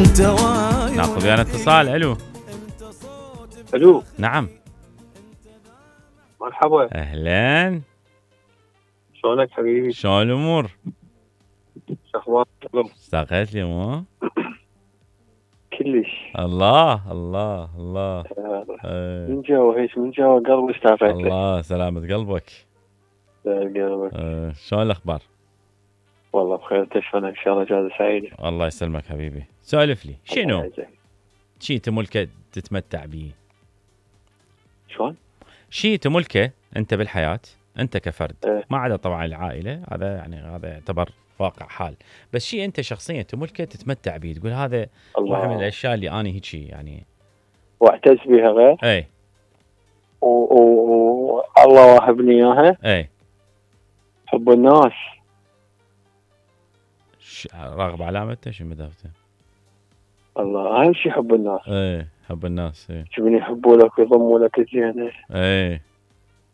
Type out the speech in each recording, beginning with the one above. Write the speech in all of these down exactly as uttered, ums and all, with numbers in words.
ناخذ ويانا اتصال. الو الو نعم مرحبا اهلا شلونك حبيبي؟ شلون الامور؟ شو اخبارك؟ اشتاقت لي مو؟ كلش. الله الله الله آه. من جوا هيك من جوا قلبي اشتاقت لك. الله سلامة قلبك. قلبك. آه. شلون الاخبار؟ والله بخير. انت شلونك؟ ان شاء الله اجازه سعيده. الله يسلمك حبيبي. سولف لي شنو شيء تملكه تتمتع به؟ شلون؟ شيء تملكه انت بالحياه انت كفرد اه. ما عدا طبعا العائله، هذا يعني هذا يعتبر واقع حال، بس شيء انت شخصيا تملكه تتمتع به، تقول هذا واحد من الاشياء اللي انا هيك يعني واعتز بها غير. اي والله واهبني اياها. اي حب الناس. راغب علامته شو مدافته؟ الله اهم شيء حب الناس. اي حب الناس. اي شوفني يحبوا لك ويضموا لك الزينه. اي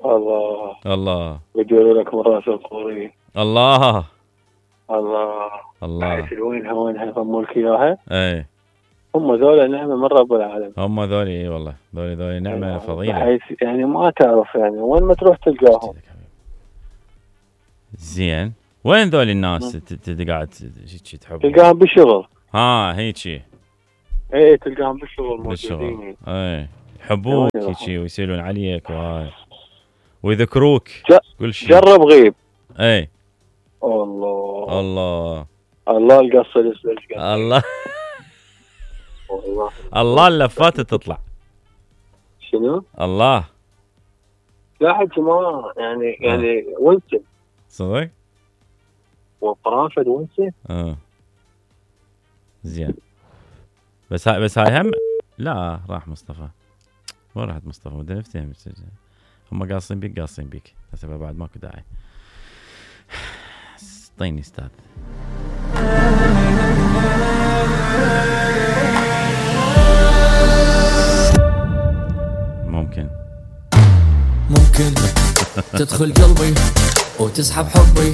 الله الله ويديروا لك من راس القوري. الله الله الله حيث وينها وينها يضموا لك اياها. اي هم ذولا نعمه من رب العالمين. هم ذولي اي والله ذولي ذولي نعمه يعني فضيله، بحيث يعني ما تعرف يعني وين ما تروح تلقاهم. زين وين ذولي الناس قاعد تحب؟ تلقاهم بالشغل. ها هيك ايه تلقاهم بالشغل موجودين. ايه يحبوك هيك ويسألون عليك وهاي ويذكروك كل شيء. جرب غيب. ايه الله الله الله القصه الاسلج الله والله الله اللفات تطلع. شنو؟ الله لا حكي ما يعني يعني ونسه صدق؟ وقرافه ونسه. اه زين بس هاي بس هاي هم لا راح مصطفى. وين راحت مصطفى؟ بدنا نفتهم هم قاصين بيك قاصين بيك هسه بعد ماكو داعي. طيني استاذ. ممكن ممكن تدخل قلبي وتسحب حبي